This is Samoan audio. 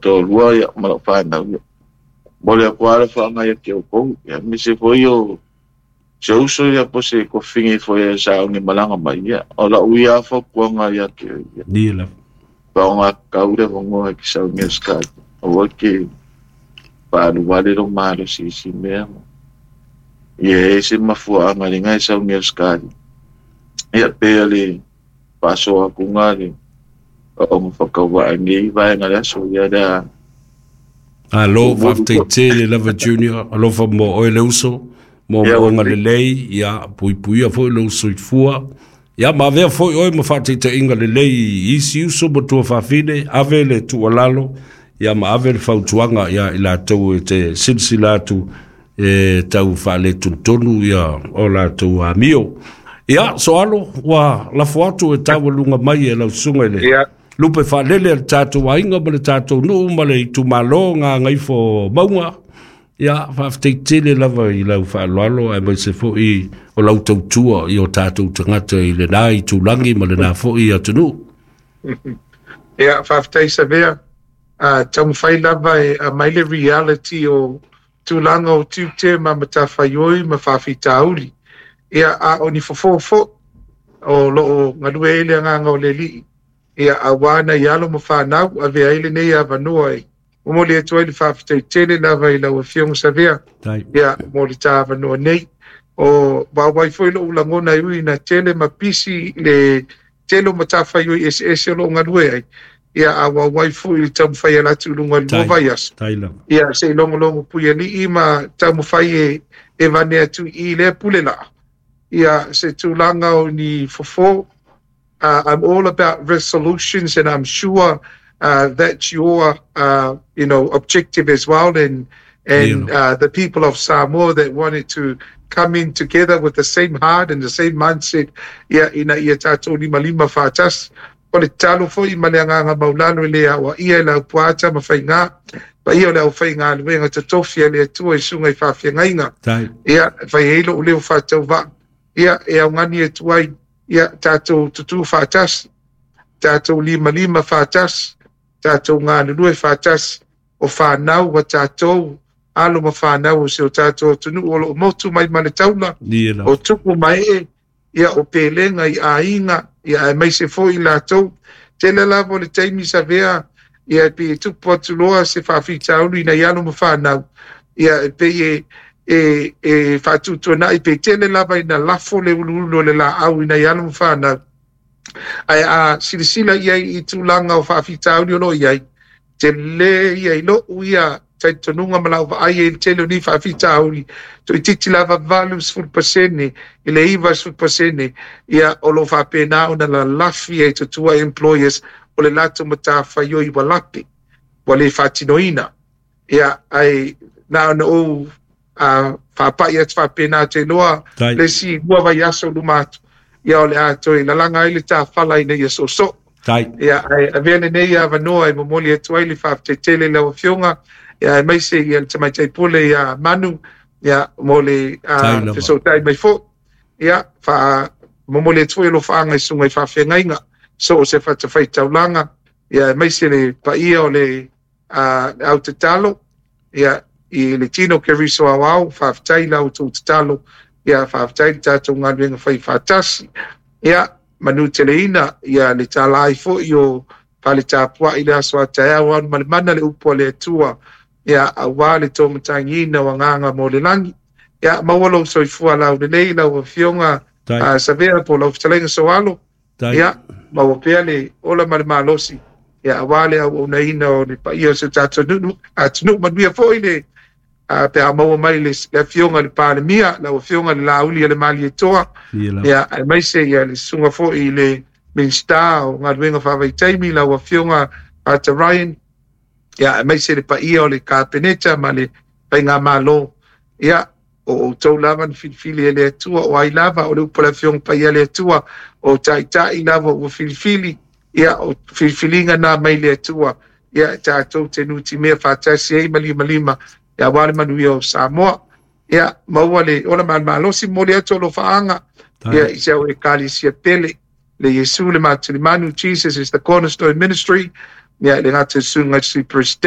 toalua ia ma lau fanau ia. Momoli atu lava le faaga ia te outou, ia aemaise foi o se uso ia po o se kofini foi e sauni malaga mai, ia o lau ia fautuaga ia te oe ia. Ia lava. Faaaoga tatau le avanoa e te sauni ai Ausetalia, aua e te faaluale lou malosi i isi mea. Ia e i ai se mafuaaga i lena e sauni ai Ausetalia. Ia pe o le faasoa atuga le ona whakawaa nei vaega le aso ia lea. Alo, faafetai tele lava Junior, alofa mo oe le uso, mo moonga lelei, ia puipuia foi lou soifua. Ia ma avea foi oe ma faataitaiga lelei i isi uso ma tuafafine, ave le tuualalo, ia ma ave le fautuaga ia i latou e te silasila atu e tau faaletonutonu ia o latou amio. Ia, Soalo, ua lafo atu e taualuga mai e lau susuga i le lupe faalele a le tatou aiga ma le tatou nuu ma le itumalo Gagaifomauga. Ia, faafetai tele lava i lau faaaloalo aemaise foi o lau tautua i o tatou tagata i lena itulagi ma lena foi atunuu. Ia, faafetai Savea. Taumafai lava e aumai le reality o tulaga o tiute ma matafaioi ma faafitauli. Ia, a o ni fofo foi o lo o galue ai le agaga o le Alii, ia, aua nai alo ma fanau, avea ai lenei avanoa e momoli atu ai le faafetai tele lava i lau Afioga Savea, ia, mo le ta avanoa nei. O vaovai foi lou lagona e ui ina tele ma pisi le tele o matafaioi eseese o lo o galue ai, ia, a vaovai foi le taumafai ala atu i luga i le lua vaiaso, ia, se i logologo puialii ma taumafai e vane atu i lea pule laa, ia, se tulaga o ni fofo. I'm all about resolutions, and I'm sure that's your objective as well, and the people of Samoa that wanted to come in together with the same heart and the same mindset, ia, ina ia tatou limalima faatasi. O le tatalo foi ma le agaga maulalo e le aoaia e le aupuaata ma faiga paia o le aufaigaluega totofi a le Atua i susuga i faafeagaiga, ia, e fai ai lou leo faatauvaa, ia, e augani atu ai, ia, tatou tutū faatasi, tatou limalima faatasi, tatou galulue faatasi, o fanau a tatou, alo ma fanau o si o tatou atunuu o lo o motu mai ma le taula, o tupu ma ee, ia, o pelega i aiga, ia, aemaise foi latou. Tele lava o le taimi Savea, ia, e pei e tupu atu loa se faafitauli ina i alo ma fanau, ia, e pei e faatuatuanai, pe tele lava ina lafo le uluulu o le laau ina i alo ma fanau. Ae a silasila i ai i tulaga o faafitauli o lo o i ai, tele ia i lou ia talitonuga ma lau vaai ai i le tele o nei faafitauli, toeitiiti lava 80% i le 90%, ia, o lo o faapena ona lalafi ai totua employers o le latou matafaioi ua lape, ua le faatinoina. Ia, ae na ona ou faapai atu faapena te iloa le isi lua vaiaso luma atu, ia, o le a toe lalaga ai le tafala ina ia soosoo. Ia, ae avea lenei avanoa e momoli atu ai le faafetai tele i lau Afioga, ia, aemaise ia le tamaitai pule ia Manu, ia, mo le fesootai mai foi. Ia, momoli atu foi alofaaga i susuga i faafeagaiga, so o se fatafaitaulaga, ia, aemaise le paia o le au tatalo, ia, i le tino Keriso aoao, faafetai la outou tatalo, ia, faafetai le tatou galuega fai faatasi. Ia, manuteleina, ia, le talai foi o fale tapuai le aso a taeao alu ma le mana le upu a le Atua, ia, aua le tōmatagiina o agaga mo le lagi. Ia, maua lou soifua laulelei lau Afioga Savea po lau fetalaiga Soalo. Ia, maua pea le ola ma le malosi, ia, aua le auaunaina o le paia o si o tatou atunuu. Manuia foi le pe a maua mai le Afioga i le Palemia, lau Afioga le Lauli a le Malietoa, ia, aemaise ia le susuga foi i le Minisita o Galuega Faavaitaimi, lau Afioga Arthur Ryan, ia, aemaise le paia o le Kapeneta ma le Faigamalo. Ia, o outou lava na filifili e le Atua, o ai lava o le upu a le Afioga Paia a le Atua, o taitai lava ua filifili, ia, o filifiliga na mai le Atua, ia, tatou te nutimea faatasi ai ma limalima, ia, aua le manuia o Samoa. Ia, maua le ola malomalosi, momoli atu alofaaga, ia, i se au Ekalesia pele, le Iesu le Matulimanu, Jesus is the Cornerstone Ministry, ia, le gata susuga i le Sui Presidente,